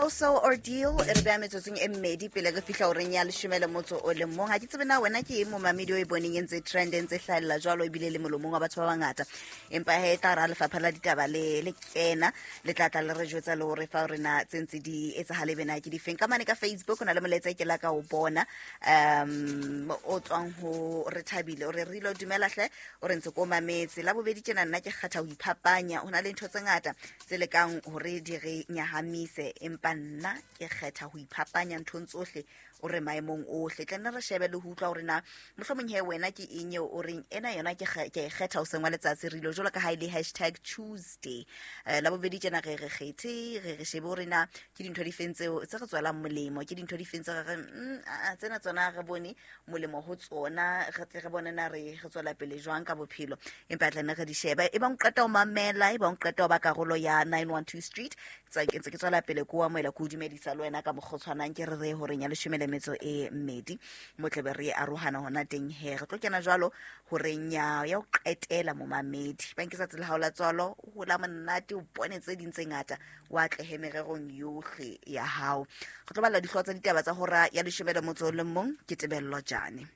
So ordeal e re beya metsotsong e mmedi pele re fihla horeng ya leshome le motso o le mong. Ga ke tsebe na wena ke eng momamedi o e boneng e ntse trend, e ntse hlaelela jwalo, ebile le molomong wa batho ba bangata. Empa he e tla ra lefapha la ditaba le le kena le tla tla le re jwetsa le hore fa rena tse ntse di etsagale bena ke difeng. Ka mane ka Facebook o na le molaetsa e ke la ka o bona o tswang ho Re Thabile, o re re ilo dumela hle, o re ntse ko mametse la bobedi tjena. Nna ke kgetha ho iphapanya, ho na le ntho tse ngata tse lekang hore di re nyahamise, empa nna ke kgetha ho iphapanya nthong tsohle, o re maemong ohle. Tla nne re shebe le ho utlwa hore na mohlomong he wena ke eng eo o reng ena yona ke e kgetha hoseng wa letsatsi. Re ilo jwalo ka ha e le #Tuesday, la bobedi tjena re re kgethe, re re shebe hore na ke dintho di feng tseo tse re tswelang molemo, ke dintho di feng tse re reng tsena tsona re bone molemo ho tsona, re tle re bone na re re tswela pele jwang ka bophelo. Empa tla nne re di shebe. E bang o qeta ho mamela, e bang o qeta ho ba karolo ya 912 Street, ke ntse ke tswela pele ko amohela, ko dumedisa le wena ka mokgwa o tshwanang. Ke re re horeng ya leshome le metso e mmedi mo tlebe re arohana hona teng. He re tlo kena jwalo horeng ya ho qetela. Momamedi, bang ke tsatsi la hao la tswalo, o hola monate, o bone tse ding tse ngata, o atlehe mererong yohle ya hao. Re tlo bala dihlooho tsa ditaba tsa hora ya leshome le motso o le mong. Ke Tebello Jane.